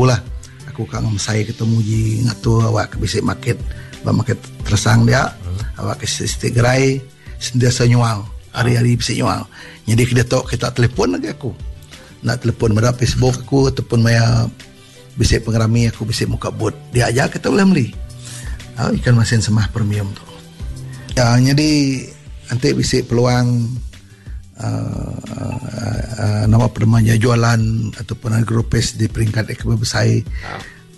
Lah aku ka ngemesai ke tu muji ngatur awak ke bisi market ba market teresang dia awak ke siti gerai sentiasa nyual hari hari bisi nyual. Nyadi ke diatu kita telefon agi aku enda telefon meda Facebook aku ataupun maya bisi pengerami aku bisi muka booth dia aja kita ulih meli ikan masin semah premium tu. Ya nyadi enti bisi peluang uh, nama penema jualan ataupun agropes di peringkat yang lebih besar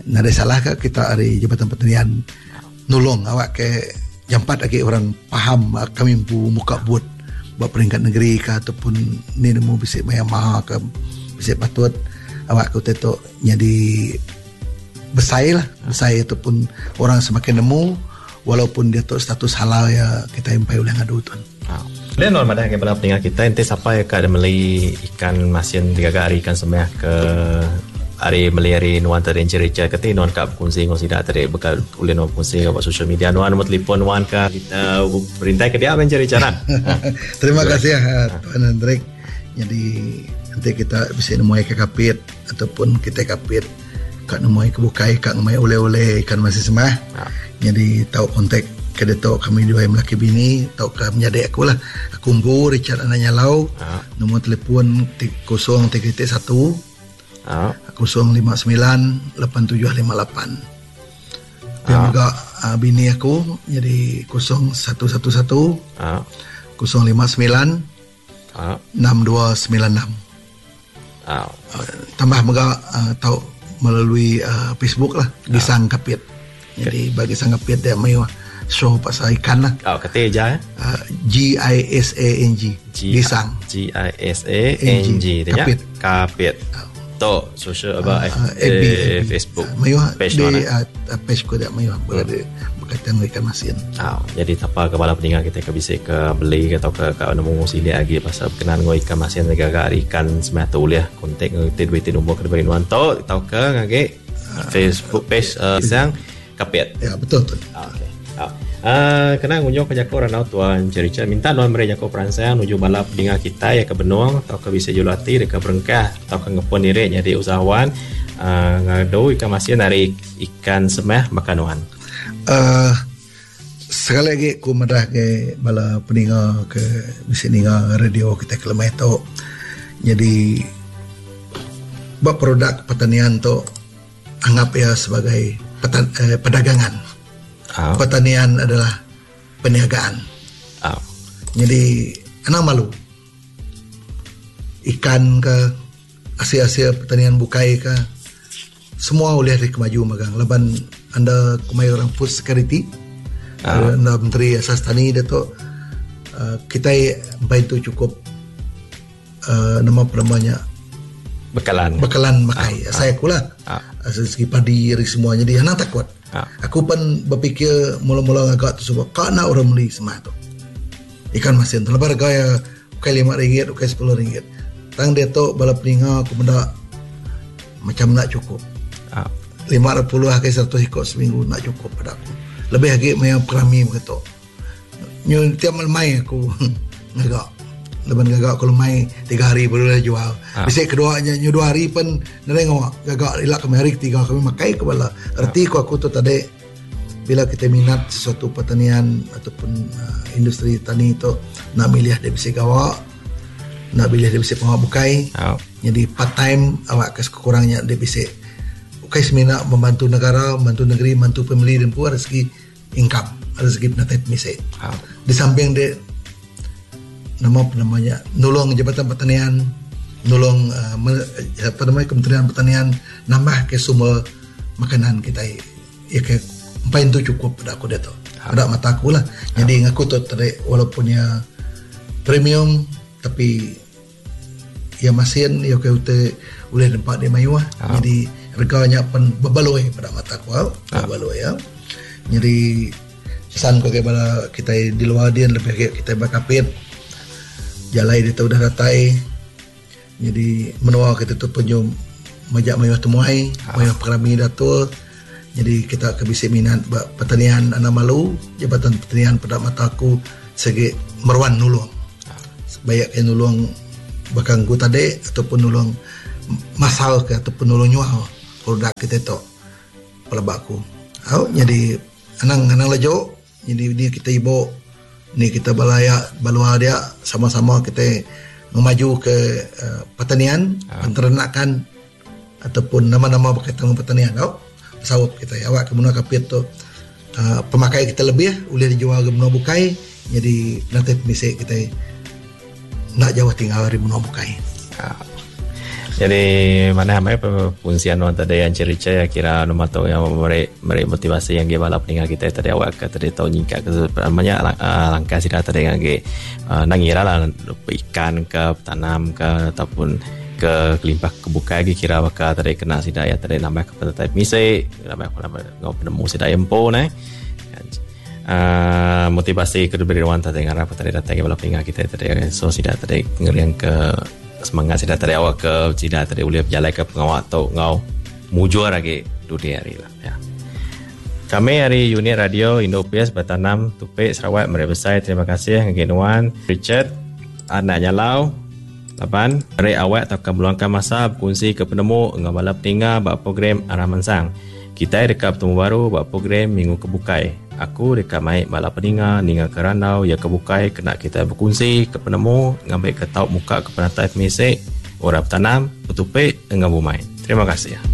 nadai salah ke kita ari Jabatan Pertanian nulung awak ke jampat lagi orang faham kami empu muka booth ba peringkat negeri ke ataupun ni nemu bisi maya maha ke bisi patut awak ke tu jadi besai lah besai ataupun orang semakin nemu walaupun dia tu status halal ya kita empai ulih ngadu tu. Dia nuan madah ke bala peninga kita enti sapa ya ka meli ikan masin digaga ari ikan semeh ke ari meli ari nuan tadi Encik Richard keti nuan ka bekunsi enggau sida tadi baka ulih nuan bekunsi ba social media nuan nombor telefon nuan ka kita berintai ke dia meh Encik Richard ah. Terima kasih Tuan Hendrik. Jadi enti kita bisi nemuai ke Kapit ataupun kita Kapit ka nemuai ke bukai ka ngemai oleh-oleh ikan masin semah. Ha. Jadi tau kontak ke ditu kami duai melaki bini tauka menyadi aku lah. Aku empu Richard Anak Nyalau. Ha. Nombor telefon 0331 ha. 059 8758. Pia mega uh, bini aku jadi 0111 ha. 059 6296. Uh, tambah mega uh, tau melalui uh, Facebook lah Gisang Kapit. Jadi bagi Gisang Kapit dia mayuh show pasal ikan lah. Oh, kati aja eh. G I S A N G. Gisang. G I S A N G. Kapit. Kapit. Tu social apa uh, FB, eh, Facebook. Mayuh page di uh, page ko dia mayuh berada berkaitan dengan ikan masin. Oh, jadi sapa ke bala peninga kita ke bisi ke beli ke tauka ka nemu silik agi pasal berkenan enggau ikan masin digaga ari ikan semah tu ulih kontak enggau iti duit ti nombor ke diberi nuan tu tauka ngagai Facebook page uh, Isang Kapit. Ya betul tu. Okey. Uh, kena ngunjung ke jaku randau tuan Encik Richard minta nuan meri jaku peransang nuju bala peninga kitai ke benung tauka bisi julu ati deka berengkah tauka ngepun diri nyadi usahawan uh, ngadu ikan masin ari ikan semah baka nuan. Uh, sekali lagi ku madah ke bala peninga ke bisi ninga radio kita ke lemai tu. Jadi ba produk pertanian tu anggap ia sebagai petan, eh, perdagangan. Oh. Pertanian adalah perniagaan. Oh. Jadi anang malu. Ikan ke asil-asil pertanian bukai ke semua ulih dikemaju magang laban anda kumai orang food security. Oh. Anda menteri asas tani dia tu uh, kita empai tu cukup uh, nama penamanya bekalan bekalan makai ah, saya aku lah ah. Dari segi padi dari semua jadi anak takut ah. Aku pun berfikir mula-mula agak tu sebab kak nak orang beli semua tu ikan masin tu lepas harga ya bukan RM5 bukan RM10 tang dia tu bala peninga aku benda macam nak cukup ah. 50 ke 100 ikut seminggu nak cukup pada aku lebih lagi maya perami begitu Nyu tiap lemai aku ngaga. Laban ngaga aku lemai tiga hari baru dah jual. Ha. Bisi kedua nya nyu dua hari pen nadai ngawa gaga ila kami hari ketiga kami makai ke bala. Erti ku aku tu tadi bila kita minat sesuatu pertanian ataupun uh, industri tani tu nak milih dia bisi gawa nak milih dia bisi pengawa bukai. Ha. Jadi part time awak ke sekurangnya dia bisi ukai semina membantu negara, membantu negeri, membantu family dan pun rezeki income rezeki penatai pemisi. Ha. Di samping dia nama apa namanya nulung Jabatan Pertanian, nulung uh, apa namanya Kementerian Pertanian nambah ke sumber makanan kita ya ke empai tu cukup pada aku dia tu. Ha. Pada mata aku lah. Ha. Jadi ngaku tu tadi walaupun ya premium tapi ya masin ya ke ute ulih nempa di mayuh. Ha. Jadi reganya pen bebaloi pada mata aku ha. Bebaloi ya. Jadi pesan ku bala kita di luar dia lebih ke kita bakapit jalai dia udah datai. Jadi menua kita tu penyum majak mayuh temuai, Ha. mayuh pengerami datul. Jadi kita ke bisi minat ba pertanian anak malu, Jabatan Pertanian pada mata aku segi meruan nulung. Bayak ke nulung bakang ku tadi ataupun nulung masal ke ataupun nulung nyual. produk kitai tu pelaba aku. Au nyadi anang anang leju nyadi ni kita ibu ni kita bala aya ba luar dia sama-sama kitai ngemaju ke uhh pertanian penternakan ataupun nama-nama berkaitan dengan pertanian au besaup kitai awak ke menua Kapit tu uhh pemakai kita lebih ulih dijual ke menua bukai nyadi penatai pemisi kitai. Enda jauh tinggal ari menua bukai. Jadi manah amai pengungsian nuan tadi Encik Richard kira numa tu yang meri meri motivasi agi bala peninga kitai tadi awak ke tadi tau nyingkat ke nya langkah sida tadi agi enda ngira lah ikan ke betanam ke ataupun ke kelimpah ke bukai agi kira baka tadi kena sida iya tadi nambah ke penatai pemisi nambah enggau penemu sida iya empu neh. Uh, motivasi ke diberi ruang tadi ngarap tadi datai ke bala peninga kita tadi so sida tadi ngering ke semangat sida tadi awak ke sida tadi ulih bejalai ke pengawa tu enggau mujur agi dudi hari lah ya. Kami ari unit radio Indo PS Betanam Tupik Sarawak meri besai terima kasih ngagai nuan Richard anak Nyalau laban meri awak tauka meluangkan masa bekunsi ke penemu enggau bala peninga ba program Arah Mansang. Kitai deka betemu baru ba program minggu ke bukai. Aku deka mai bala peninga ningaka randau iya ke bukai kena kitai bekunsi ke penemu ngambika tau muka ke penatai pemisi orang betanam, betupi enggau bumai. Terima kasih.